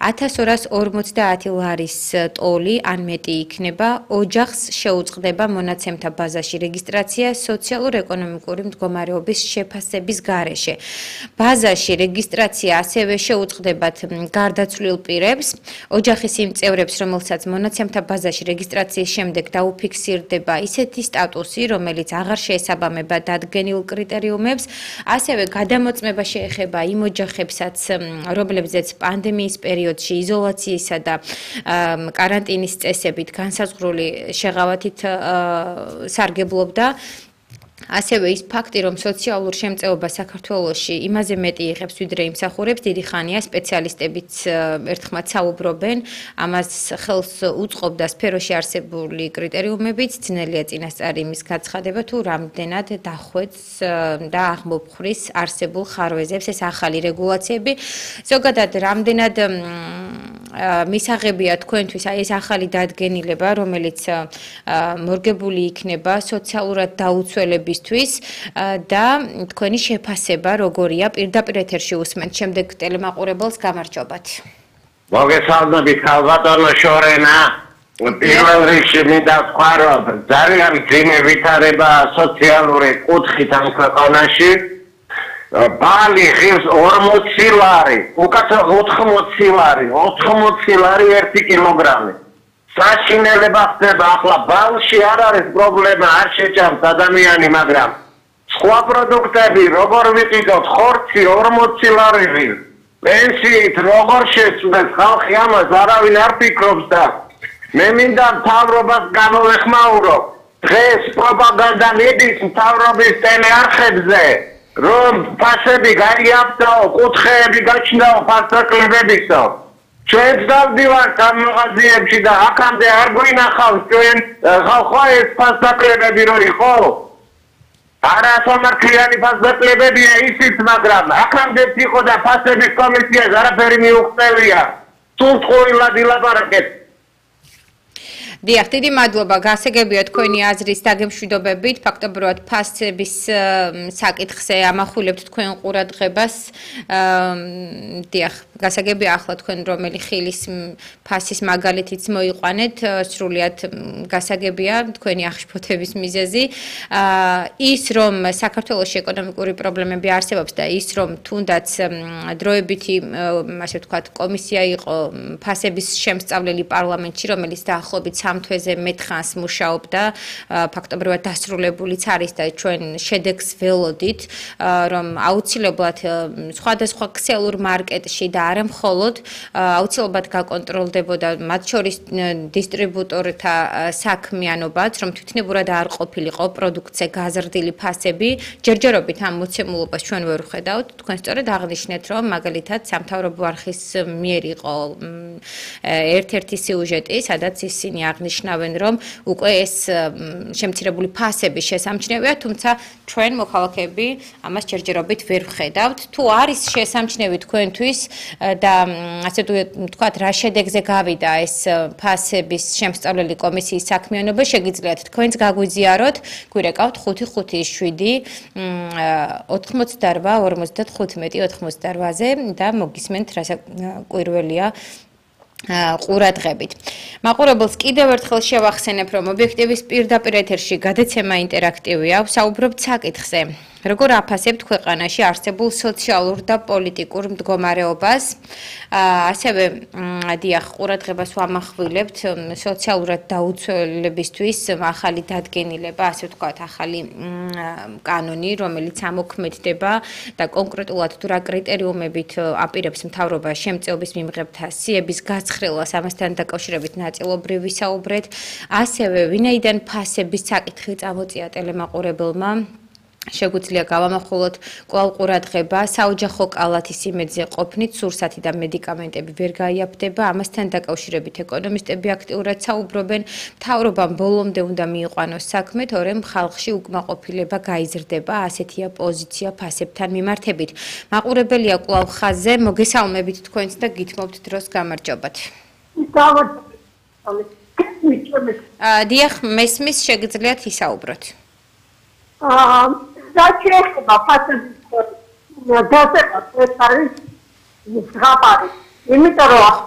1250 ლარის ტოლი ან მეტი იქნება, ოჯახს შეუწყდება მონაცემთა ბაზაში რეგისტრაცია სოციალურ-ეკონომიკური მდგომარეობის შეფასების გარეშე. ბაზაში რეგისტრაცია ასევე შეუწყდებათ გარდაცვლილ პირებს, ოჯახის იმ წევრებს, რომელსაც მონაცემთა ბაზაში რეგისტრაციის შემდეგ დაუფიქსირდება ისეთი სტატუსი, რომელიც აღარ შეესაბამება დადგენილ კრიტერიუმებს, ასევე გადამოწმება შეეხება იმ ოჯახებსაც, რომლებზეც პანდემიის პერიოდში იზოლაციისა და კარანტინის წესებით განსაზღვრული შეღავათით სარგებლობდა. ასევე ის ფაქტი, რომ სოციალურ შემწეობა საქართველოში იმაზე მეტი იღებს, ვიდრე იმსახურებს, დიდი ხანია სპეციალისტებიც ერთხმად საუბრობენ, ამას ხელს უწყობდა სფეროში არსებული კრიტერიუმებიც, ძნელია წინასწარი იმის გაცხადება, თუ რამდენად დახვეწს და აღმოფხვრის არსებულ ხარვეზებს ეს ახალი რეგულაციები. ზოგადად, რამდენად მისაღებია თქვენთვის ეს ახალი დადგენილება, რომელიც მორგებული იქნება სოციალურად დაუცველებისთვის და თქვენი შეფასება როგორია პირდაპირ ეთერში უსმენთ შემდეგ ტელემაყურებელს გამარჯობათ. მოგესალმებით ქალბატონო შორენა. პირველ რიგში მინდა ვთქვა, რომ ძალიან მძიმე ვითარება სოციალური კუთხით ამ ქვეყანაში. ბალი ღირს 40 ლარი, უკაცრავ 80 ლარი, 80 ლარი 1 კილოგრამი. საშინელება ხდება, ახლა ბალში არ არის პრობლემა, არ შეჭამს ადამიანი, მაგრამ სხვა პროდუქტები როგორ ვიყიდოთ, ხორცი 40 ლარი ღირს. პენსიით როგორ შეცვლეს ხალხი ამას არავინ არ ფიქრობს და მე მინდა მთავრობას გამოვეხმაურო. დღეს პროპაგანდა მიდის მთავრობის ტელეარხებზე. რომ ფასები გაიაფთაო, კუთხეები გაჩნდაო ფასაკლებებისო. ჩვენც დავდივართ ამ მაღაზიებში და აქამდე არ გვინახავს ჩვენ ხალხო ეს ფასაკლებები რო იყო. არასამართლიანი ფასაკლებებია ისიც, მაგრამ აქამდე იყო და ფასების კომისიას არაფერი მიუღწევია. სულ ყოილად ილაპარაკეთ. დიახ, დიდი მადლობა. გასაგებია თქვენი აზრის დაგემშვიდობებით. ფაქტობრივად ფასების საკითხზე ამახვილებთ თქვენ ყურადღებას. დიახ, გასაგებია ახლა თქვენ რომელი ხილის ფასის მაგალითიც მოიყვანეთ, სრულიად გასაგებია თქვენი აღშფოთების მიზეზი. ის რომ საქართველოში ეკონომიკური პრობლემები არსებობს და ის რომ თუნდაც დროებითი, ასე ვთქვათ, კომისია იყო ფასების შემსწავლელი პარლამენტში, რომელიც დაახლოებით თვეზე მეთხანს მუშაობდა, ფაქტობრივად დასრულებულიც არის და ჩვენ შედეგს ველოდით, რომ აუცილებლად სხვადასხვა ქსელურ მარკეტში და არა მხოლოდ აუცილებლად გაკონტროლდებოდა მათ შორის დისტრიბუტორთა საქმიანობაც, რომ თვითნებურად არ ყოფილიყო პროდუქტზე გაზრდილი ფასები, ჯერჯერობით ამ მოცემულობას ჩვენ ვერ ვხედავთ. თქვენ სწორედ აღნიშნეთ, რომ მაგალითად სამთავრობო არხის მიერ იყო ერთ-ერთი სიუჟეტი, სადაც ისინი აღნიშნავენ, რომ უკვე ეს შემცირებული ფასები შესამჩნევია, თუმცა ჩვენ მოქალაქეები ამას ჯერჯერობით ვერ ვხედავთ. თუ არის შესამჩნევი თქვენთვის და ასე ვთქვათ, რა შედეგზე გავიდა ეს ფასების შემსწავლელი კომისიის საქმიანობა, შეგიძლიათ თქვენც გაგვიზიაროთ, გვირეკავთ 557 88 55 88-ზე და მოგისმენთ რა კვირველია ყურადღებით. მაყურებელს კიდევ ერთხელ შევახსენებ, რომ ობიექტივის პირდაპირ ეთერში გადაცემა ინტერაქტივია, ვსაუბრობთ საკითხზე. როგორ აფასებთ ქვეყანაში არსებულ სოციალურ და პოლიტიკურ მდგომარეობას? ასევე დიახ, ყურადღებას ვამახვილებთ სოციალურად დაუცველებისთვის ახალი დადგენილება, ასე ვთქვათ, ახალი კანონი, რომელიც ამოქმედდება და კონკრეტულად თუ რა კრიტერიუმებით აპირებს მთავრობა შემწეობის მიმღებთა სიების გაცხრილას, ამასთან დაკავშირებით ნაწილობრივ ვისაუბრეთ. ასევე ვინაიდან ფასების საკითხი წამოწია ტელემაყურებელმა, შეგვიძლია გავამახვილოთ კვლავ ყურადღება საოჯახო კალათის იმედზე ყოფნით სურსათი და მედიკამენტები ვერ გაიაფდება, ამასთან დაკავშირებით ეკონომისტები აქტიურად საუბრობენ, მთავრობამ ბოლომდე უნდა მიიყვანოს საქმე, თორემ ხალხში უკმაყოფილება გაიზრდება, ასეთია პოზიცია ფასებთან მიმართებით. მაყურებელია კვლავ ხაზზე, მოგესალმებით თქვენს და გითმობთ დროს გამარჯობათ. დიახ, მესმის შეგიძლიათ ისაუბროთ. Зачем фасების დასება ეს არის ზღაპარი იმიტომ რომ